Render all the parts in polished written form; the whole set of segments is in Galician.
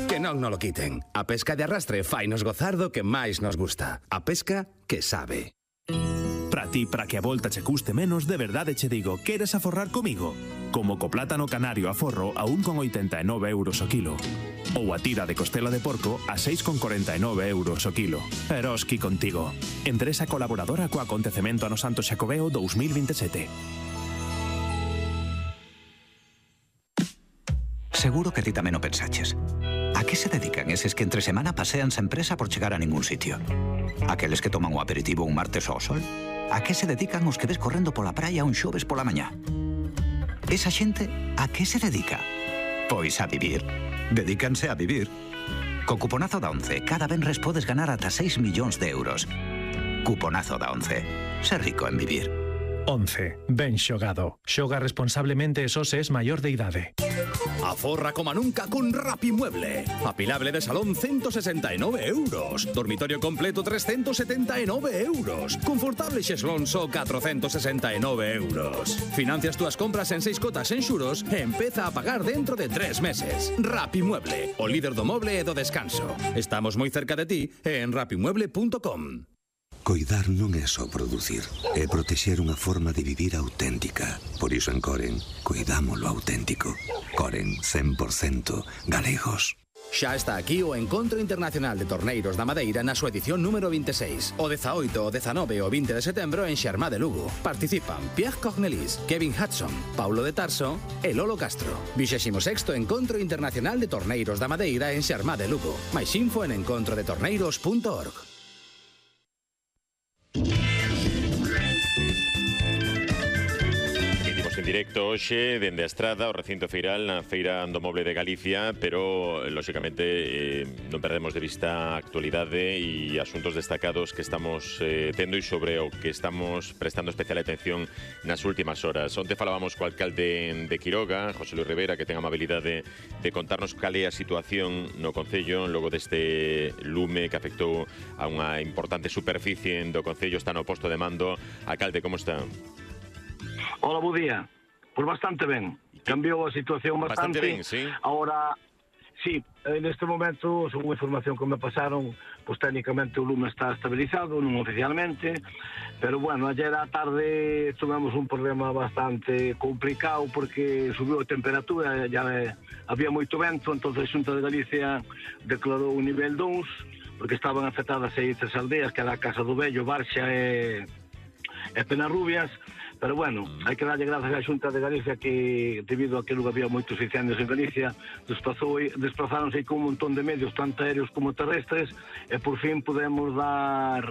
Que non lo quiten. A pesca de arrastre fainos gozar do que máis nos gusta. A pesca que sabe. Para ti, para que a volta che custe menos, de verdade che digo, queres aforrar comigo? Como co plátano canario a forro a 1,89 euros o kilo. Ou a tira de costela de porco a 6,49 euros o kilo. Eroski contigo. Empresa colaboradora co acontecemento Ano Santo Xacobeo 2027. Seguro que ti tamén o pensaches. A que se dedican eses que entre semana pasean sen presa por chegar a ningún sitio? Aqueles que toman o aperitivo un martes ao sol? A que se dedican os que ves correndo pola praia un xoves pola mañá? Esa xente, a que se dedica? Pois a vivir. Dedícanse a vivir. Co cuponazo da ONCE, cada venres podes ganar ata 6 millóns de euros. Cuponazo da ONCE. Ser rico en vivir. 11. Ben xogado. Xoga responsablemente e só se es maior de idade. Aforra como nunca con Rapimueble. Apilable de salón 169 euros. Dormitorio completo 379 euros. Confortable xeslón só 469 euros. Financias túas compras en 6 cotas en xuros e empeza a pagar dentro de 3 meses. Rapimueble, o líder do moble e do descanso. Estamos moi cerca de ti e en rapimueble.com. Coidar non é só producir, é protexer unha forma de vivir auténtica. Por iso en Coren, cuidamos lo auténtico. Coren 100% galegos. Xa está aquí o Encontro Internacional de Torneiros da Madeira na súa edición número 26. O 18, o 19 e o 20 de setembro en Xermá de Lugo. Participan Pierre Cornelis, Kevin Hudson, Paulo de Tarso e Lolo Castro. 26º Encontro Internacional de Torneiros da Madeira en Xermá de Lugo. Mais info en encontrodetorneiros.org. En directo hoxe dende a Estrada, o recinto feiral na Feira do Moble de Galicia, pero lóxicamente non perdemos de vista a actualidade e asuntos destacados que estamos tendo e sobre o que estamos prestando especial atención nas últimas horas. Onte falábamos co alcalde de Quiroga, José Luis Rivera, que ten a amabilidade de contarnos cal é a situación no concello logo deste lume que afectou a unha importante superficie do concello. Está no posto de mando. Alcalde, como está? Hola, bo día. Pois bastante ben. Cambiou a situación bastante. Ben, sí. Ahora, sí, neste momento, según a información que me pasaron, pois técnicamente o lume está estabilizado, non oficialmente, pero bueno, ayer á tarde tuvemos un problema bastante complicado porque subiu a temperatura, ya había moito vento, entonces a Xunta de Galicia declarou un nivel 2, porque estaban afectadas 6 aldeas, que era a Casa do Vello, Barxa e Penarrubias. Pero bueno, hai que darlle grazas á Xunta de Galicia que, debido a que había moitos incendios en Galicia, desplazáronse con un montón de medios, tanto aéreos como terrestres, e por fin podemos dar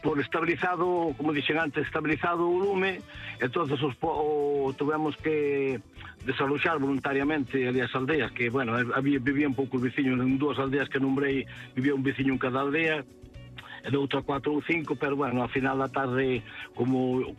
por estabilizado, como dixen antes, estabilizado o lume. Entonces tuvemos que desaloxar voluntariamente ali as aldeas, que, bueno, vivían poucos veciños, en 2 aldeas que nombrei, vivía un veciño en cada aldea, e de outra 4 ou 5, pero bueno, ao final da tarde, como